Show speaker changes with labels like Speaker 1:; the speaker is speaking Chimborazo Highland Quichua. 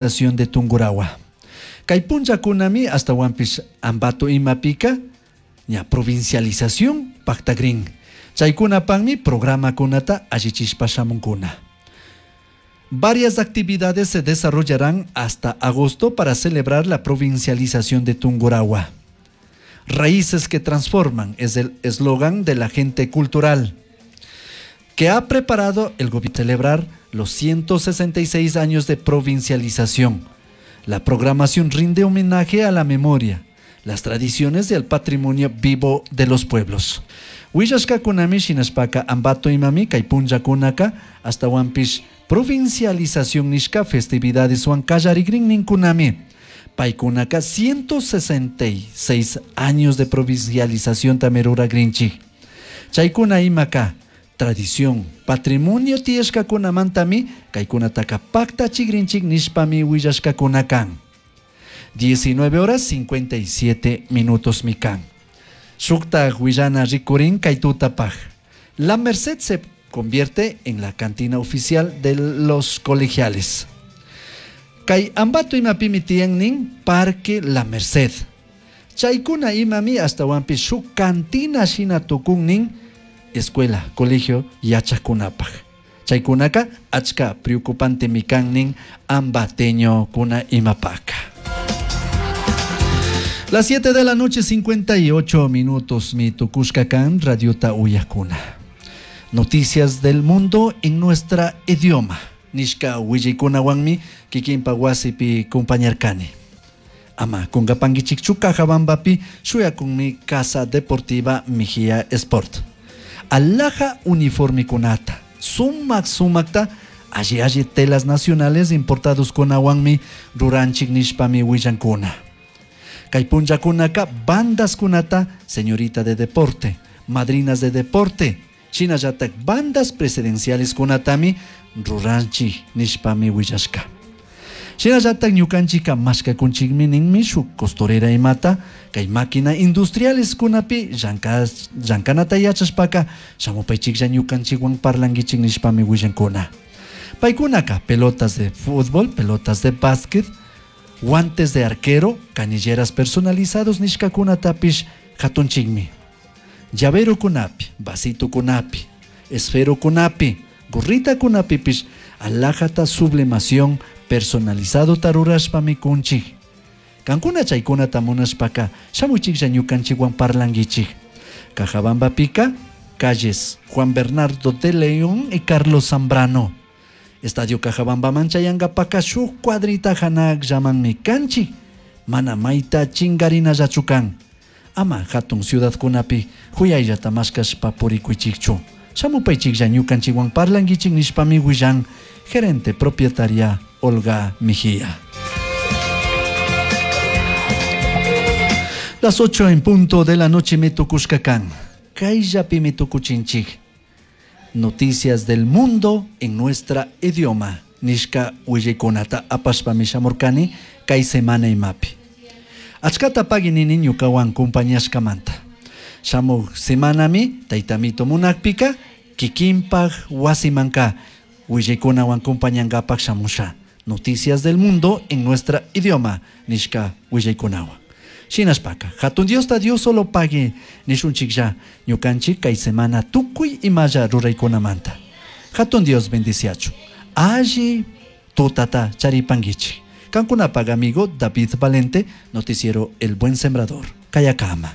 Speaker 1: De Tungurahua. Kay punllakunami astawanpish Ambato imapika ña provincialización pactagrin. Chaykunapakmi programakunata allichishpa shamunkuna. Varias actividades se desarrollarán hasta agosto para celebrar la provincialización de Tungurahua. Raíces que transforman es el eslogan de la gente cultural que ha preparado el gobierno celebrar los 166 años de provincialización. La programación rinde homenaje a la memoria, las tradiciones y al patrimonio vivo de los pueblos. Willashkakunami shinashpaka Ambato imami kay punllakunaka ashtawanpish provincialización nishka festividadeswan kallarigrin ninkunami. Paykunaka 166 años de provincialización ruragrinchik. Chaykuna imaka tradición, patrimonio tiyashkakunamantami kaykunataka paktachigrinchik nishpami willashkakuna kan. 19 horas 57 minutos mi kan. Shuktaj willana rikurin kay tutapaj. La Merced se convierte en la cantina oficial de los colegiales. Kay Ambato imapimi tiyan nin Parque La Merced. Chaykuna imami ashtawanpish shuk cantina shina tukun nin escuela, colegio yachakunapaj. Chaykunaka achka preocupante kan nin ambateñokuna imapaka. Las 7 de la noche, 58 minutos, mi tukushka kan radiota uyakuna. Noticias del mundo en nuestra idioma. Nishka willaykunawanmi kikinpa wasipi compañarkani. Ama kungapankichikchu Cajabambapi shuyakunmi Casa Deportiva Mejía Sport. Alhaja uniformikunata, sumak sumakta, alli alli telas nacionales importados kunawanmi ruranchik nishpami willankuna. Kay punllakunaka bandas kunata, señorita de deporte, madrinas de deporte, shinallatak bandas presidenciales kunatami ruranchik nishpami willashka. Shinallatak ñukanchika mashkakunchikmi ninmi shuk costurera imata kay máquina industriales kunapi llankanata yachashpaka shamupaychiklla ñukanchikwan parlankichik nishpami willankuna. Paykunaka pelotas de fútbol, pelotas de básquet, guantes de arquero, canilleras personalizados nishkakunatapish hatunchikmi. Llavero kunapi, vasito kunapi, esfero kunapi, gorrita kunapipish alhajata sublimación personalizado tarurashpami kunchik. Kankuna chaykunata munashpaka shamuchiklla ñukanchikwan parlankichik. Cajabambapika, calles Juan Bernardo de León y Carlos Zambrano. Estadio Cajabambaman chayankapaka shuk cuadrita hanakllamanmi kanchik. Mana mayta chingarinallachu kan. Ama hatun ciudadkunapi huyayllata mashkashpa purikuychikchu. Shamupaychiklla ñukanchikwan parlankichik nishpami willan gerente propietaria Olga Mejía. Las 8 en punto de la noche me tukushka kan. Kayllapi mi tukuchinchik. Noticias del mundo en nuestra idioma. Nishka willaykunata apashpami shamurkani kay semana imapi. Achkata pagui nini ñukawan compañashkamanta. Shamuk semanami taytamito munakpika kikinpak wasimanka willaykunawan compañankapak shamusha. Noticias del mundo en nuestra idioma. Nishka willaykunawan. Shinashpaka, hatun Diosta Dios solo pagui nishunchiklla ñukanchik kay semana tukuy imalla ruraykunamanta. Hatun Dios bendiciachu. Alli tutata charipankichik. Kankunapak amigo David Valente, noticiero El Buen Sembrador. Kayakama.